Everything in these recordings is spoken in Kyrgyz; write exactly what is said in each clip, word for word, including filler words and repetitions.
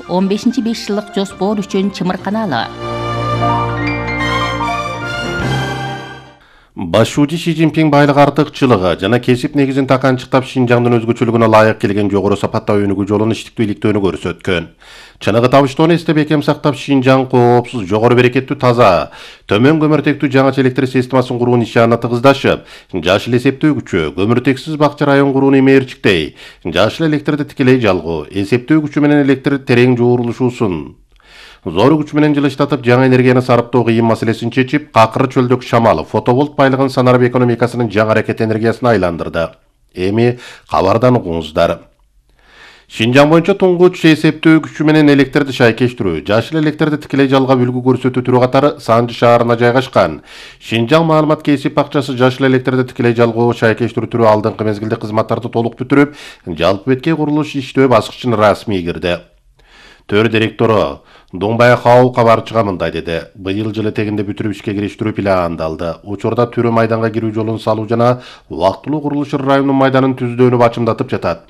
он бешинчи беш жылдык жоспор үчүн чымырканалы. Башчы Ши Цзиньпин байлык артыкчылыгы жана кесип негизин таканчыктап Шинжаңдын өзгөчөлүгүнө лайык келген жогору сапаттуу өнүгүү жолун иштиктүү иликтөөнү көрсөткөн. Чыныгы табыштоону эстеп бекем сактап Шинжаң коопсуз, жогору берекеттүү, таза, төмөн көмүртектүү жаңача электр системасын куруу нишанына тыгыздашып, жашыл эсептөөгүчү, көмүртексиз бакча район курууну имээрчиктей, жашыл электрди тикелей жалгоо, эсептөөгүчү менен электр терең жуурулушуусун зор күч менен жылыштатып жаңа энергияны сарыптоо кыйын маселесин чечип, какыры чөлдүк шамал, фотоволт байлыгын санарып экономикасынын жаңы аракет энергиясына айландырды. Эми кабардан угуңуздар. Шинжаң боюнча туңгуч эсептөөгүчү менен электрди шайкештирүү, жашыл электрди тикелей жалгап үлгү көрсөтүү түрү катары Санжы шаарына жайгашкан Шинжаң маалымат кесип бакчасы жашыл электрди тикелей жалгоо шайкештирүү түрү алдыңкы мезгилде кызматтарды толук бүтүрүп, жалпы бетке курулуш иштөө баскычына расмий кирди. Төр директору Доңбай Хау кабарчыга мындай деди. Быйыл жылы тегинде бүтүрүп ишке кириштирүү пландалды. Учурда түрү майданга кирүү жолун салуу жана убактылуу курулуш районунун майданын түздөөнү бачымдатып жатат.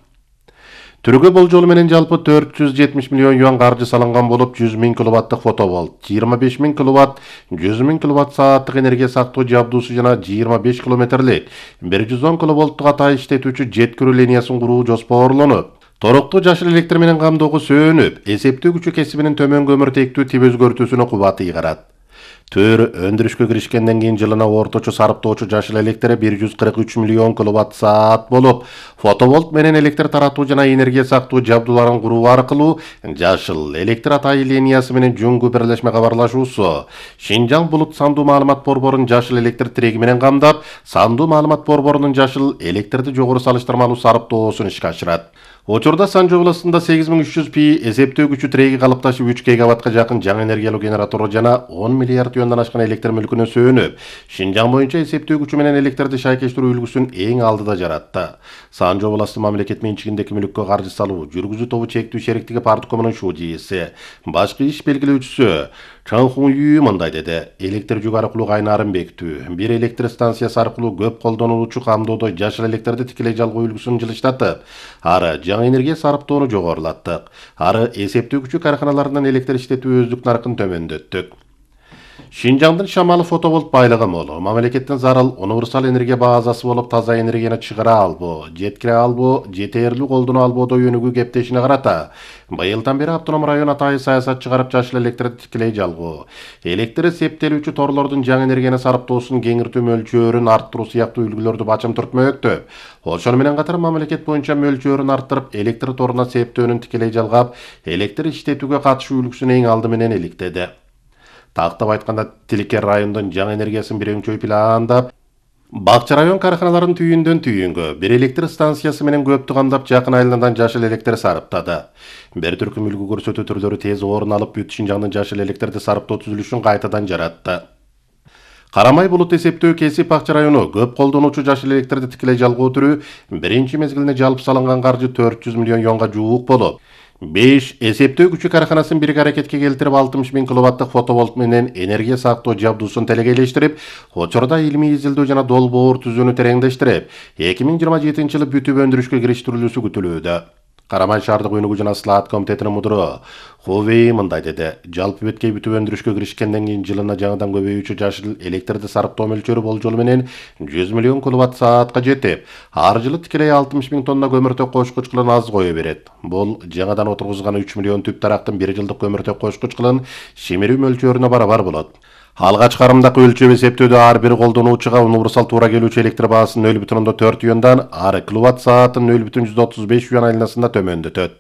Түргө болжолу менен жалпы төрт жүз жетимиш миллион юан каржы салынган болуп, жүз миң киловаттык фотоволт, жыйырма беш миң киловатт, жүз миң киловатт сааттык энергия сактоо жабдуусу жана жыйырма беш километрлик бир жүз он киловолттук атай иштетүүчү жеткирүү линиясын куруу жоспорлонуп, Торокту жашыл электр менен камдоого сөнүп, эсептөөгүчү кесибинин төмөн көмүртектүү тип өзгөртүүсүнө кубаты ыйгарат. Төр өндүрүшкө киришкенден кийин жылына орточо сарыптоочу жашыл электр бир жүз кырк үч миллион киловатт саат болуп, фотоволт менен электр таратуу жана энергия сактоо жабдууларын куруу аркылуу жашыл электр атай линиясы менен жуңгу бирлешме кабарлашуусу Шинжаң булут сандуу маалымат борборун жашыл электр тиреги менен камдап, сандуу маалымат борборунун жашыл электрди жогору салыштырмалуу сарыптоосун ишке ашырат. Учурда Санжы областында сегиз миң үч жүз пи эсептөөгүчү тиреги калыпташып үч гигаваттка жакын жаңы энергиялуу генератор жана он миллиард юандан ашкан электр мүлкүнө сөнүп, Шинжаң боюнча эсептөөгүчү менен электрди шайкештирүү үлгүсүн эң алдыда жаратты. Санжы областы мамлекет менчигиндеги мүлккө каржы салуу жүргүзүү тобу чектүү шериктиги парткомунун шужийси, башкы иш белгилөөчүсү Чан Хун Ю мындай деди. Электр жүк аркылуу кайнарын бекитүү, бир электр станциясы аркылуу көп колдонулуучу камдоодо жашыл электрди тикелей жалгоо үлгүсүн жылыштатып, ары жаңы энергия сарыптоону жогорулаттык. Ары эсептөөгүчү карканаларынан электр иштетүү өздүк наркын төмөндөттүк. Шинжаңдын шамалы фотоволт байлыгы мол, мамлекеттин зарыл универсал энергия базасы болуп, таза энергияны чыгара албоо, жеткире албоо, жетээрлүү колдоно албоодо өнүгүү кептешине карата быйылдан бери автоном район атайы саясат чыгарып жашыл электрди тикелей жалгоо, электр септелүүчү торлордун жаңы энергияны сарыптоосун кеңиртүү мөлчөрүн арттыруу сыяктуу үлгүлөрдү бачым түртмөктө. Ошону менен катар мамлекет боюнча мөлчөрүн арттырып, электр торуна септөөнүн тикелей жалгап, электр иштетүүгө катышуу үлгүсүн эң алды менен иликтеди. Тактап айтканда, Тиликер райондун жаңы энергиясын бирөңчөй пландап, Бакча район карканаларын түйүндөн түйүнгө бир электр станциясы менен көптү камдап, жакын айландан жашыл электр сарыптады. Бир түркүм үлгү көрсөтүү түрлөрү тез орун алып, бүт Шинжаңдын жашыл электрди сарыптоо түзүлүшүн кайтадан жаратты. Карамай булут эсептөө кесип бакча району көп колдонуучу жашыл электрди тикелей жалгоо түрү биринчи мезгилине жалпы салынган каржы төрт жүз миллион юанга жуук болуп, беш эсептөөгүчү карканасын бирге аракетке келтирип алтымыш миң киловаттык фотоволт менен энергия сактоо жабдуусун телекейлештирип, учурда илимий изилдөө жана долбоор түзүүнү тереңдештирип, эки миң жыйырма жетинчи жылы бүтүп өндүрүшкө кириштирилүүсү күтүлүүдө. Карамай шаардык өнүгүү жана слаат комитетинин мудуру Хувей мындай деди. Жалпы беткей бүтүп өндүрүшкө киришкенден кийин жылына жаңыдан көбөйүүчү жашыл электрди сарыптоо мөлчөрү болжолу менен жүз миллион киловатт саатка жетип, ар жылы тикелей алтымыш миң тонна көмүртөк кошкуч кылын аз кое берет. Бул жаңадан отургузган үч миллион түп тарактын бир жылдык көмүртөк кошкуч кылын шимирүү мөлчөрүнө барабар болот. Алгач карымдак өлчөп эсептөөдө ар бир колдонуучуга универсал туура келүүчү электр баасын нөл бүтүн ондон төрт юандан, ары киловатт саатын нөл бүтүн жүз отуз беш юан айланасында төмөндөтөт.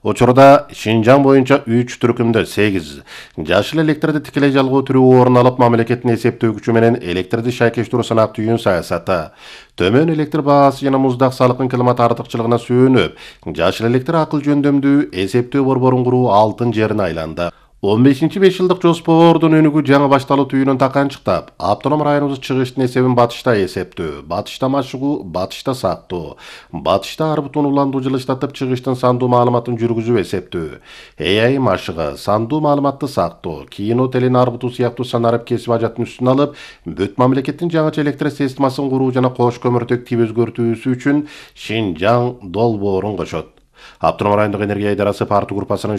Учурда Шинжаң боюнча үч түркүмдө сегиз жашыл электрди тикелей жалгоо түрү орун алып, мамлекеттин эсептөөгүчү менен электрди шайкештирүү санак түйүн саясаты, төмөн электр баасы жана муздак салыктын климат артыкчылыгына сүйөнүп, жашыл электр акыл жөндөмдүү эсептөө борборун куруу алтын жерине айланды. он бешинчи беш жылдык жоспордун өнүгүү жаңы башталуу түйүнүн таканчыктап, автоном районубуз чыгыштын эсебин батышта эсептөө, батышта машыгуу, батышта сактоо, батышта ар бутун уландуу жылыштатып, чыгыштын сандуу маалыматын жүргүзүү эсептөө, эй ай машыгы, сандуу маалыматты сактоо, кино телен арбутуу сыяктуу санарып кесип ажатын үстүн алып, бүт мамлекеттин жаңыча электр системасын куруу жана кош көмүртөк тип өзгөртүүсү үчүн Шинжаң долбоорун кошот. Автономдук райондук энергия идарасы партия группасынын